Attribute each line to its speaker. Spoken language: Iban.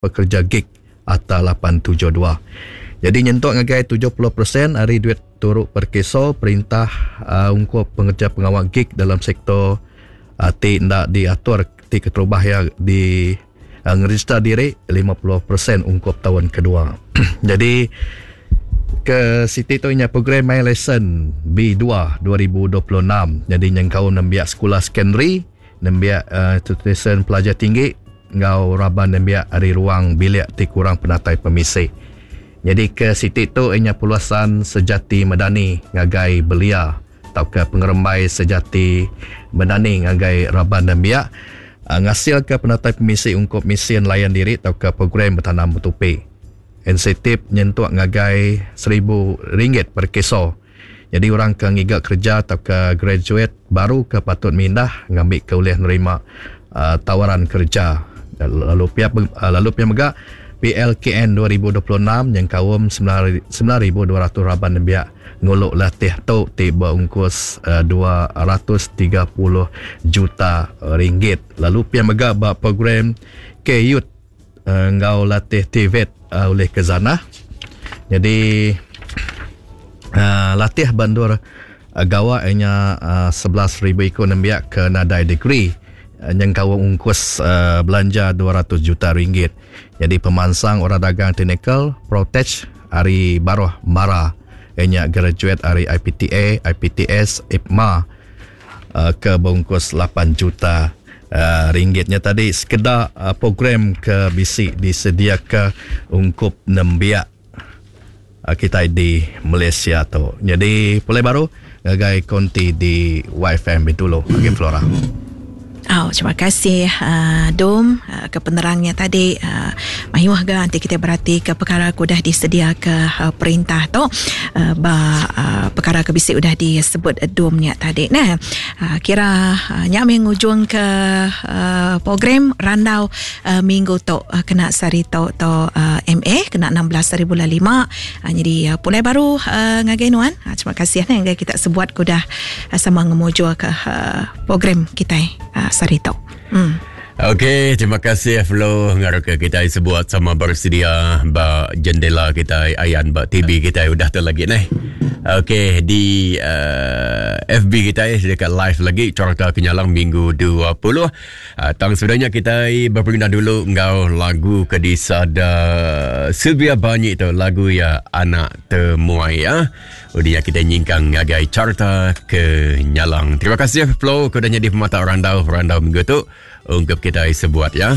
Speaker 1: Pekerja Gig Akta 872. Jadi nyentuk ngagai 70 persen ari duit turu Perkeso perintah ungkup pengereja pengawa gig dalam sektor ti enda diatur ti keterubah iya di ngerejista diri 50 persen ungkup taun kedua. Jadi ke siti tu nya program My Lesson B2 2026 jadi nyengkaum nembiak sekula sekondari, nembiak institusyen pelajar tinggi enggau raban nembiak ari ruang bilik ti kurang penatai pemisi. Nyadika siti tu iya nya Peluasan Sejati Medani ngagai belia tauka pengerembai sejati medani ngagai raban nembiak ngasilka penatai pemisi ungkup mesin layan diri tauka program betanam betupi. Insentif nyentuk ngagai RM1000 per keso. Nyadi orang ke ngiga kereja tauka graduate baru ke patut mindah ngambika ulih nerima tawaran kereja. Lalu pia lalu pia mega PLKN 2026 nyengkaum 9200 raban nembiak ngulu latih tu ti beungkus 230 juta ringgit. Lalu pia mega ba program K-Youth enggau latih TVET ulih ke zanah. Nyadi latih ba endur gawa iya nya 11,000 iku nembiak ke nadai degree nyengkaum ungkus belanja 200 juta ringgit. Nyadi pemansang orang dagang teknikal Protech ari baruh Mara iya nya graduate ari IPTA, IPTS, IPMA ke beungkus 8 juta ringgit nya tadi sekeda program ke bisi disediaka ungkup nembiak kitai di Malaysia tu. Nyadi pulai baru ngagai konti di YFM Bintulu agi Flora.
Speaker 2: Oh, terima kasih uh, Dom uh, ke penerangnya tadi. Uh, mayuh ga nanti kita berhati ke perkara ke udah disedia ke uh, perintah tu uh, ba uh, perkara ke bisi udah disebut Dom nya tadi. Nah, uh, kira uh, nya meh ngujung ke uh, program randau uh, minggu tu uh, kena sehari tu tu uh, MA kena 16 hari bulan 5. Uh, jadi uh, pulai baru uh, ngagai nuan. Uh, terima kasih nah ngagai kita sebuat ke udah uh, sama ngemujur ke uh, program kitai uh, sehari tu.
Speaker 3: Hmm. Okey, terima kasih Flo ngarap ke kita sebuat sama bersedia ba jendela kita ayan ba TV kita udah tu lagi neh. Okey, di uh, eh, FB kita dekat live lagi cerita kenyalang minggu 20. Uh, eh, tang sebenarnya kita berperindang dulu enggau lagu ke disada Sylvia Banyi tu lagu ya Anak Temuai ya. Udah kita nyingkang ngagai carta ke nyalang. Terima kasih Flo ke udah nyadi pemata randau randau minggu tu. Ungkup kita sebuat ya.